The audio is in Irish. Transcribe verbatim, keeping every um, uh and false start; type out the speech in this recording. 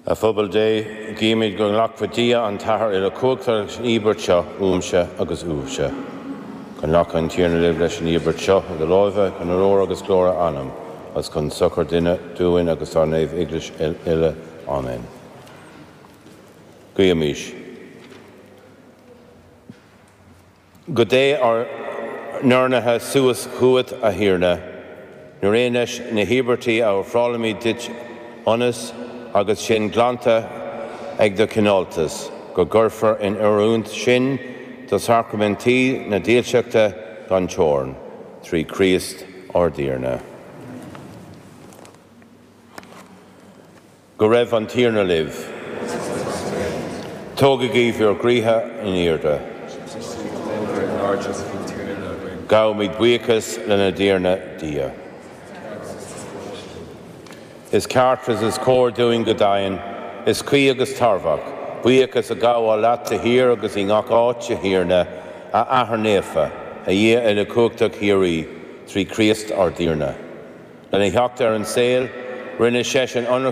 A phobal Dé, guímid go nglacfaidh Dia an tAthair uilechumhachtach leis an íobairt seo uaimse agus uaibhse. Go nglaca an Tiarna libh leis an íobairt seo i do láimhe chun onóir agus glóir a ainm, agus chun sochair duine dúinn agus dár naomh-Eaglais uile. Amen. Guímis. Go dté ár n-urnaithe suas chugat, a Thiarna, nuair aon leis na híobairtí a ofrálaimid duit ionas agus sinn glanta ag do chineáltas, go gcuirfear in oiriúint sinn do shacraimintí na dílseachta gan teorainn, trí Chríost ár dTiarna. Go raibh an Tiarna libh. Tógaigí bhur gcroíthe in airde. Gabhaimid buíochas lenár dTiarna Dia. Is ceart agus is cóir dúinn go deimhin, is cuí agus tairbheach, buíochas a ghabháil leat de shíor agus i ngach áit, a Thiarna, a Athair Naofa, a Dhia uilechumhachtach shíoraí, trí Chríost ár dTiarna. Lena theacht ar an saol, rinne seisean ionracas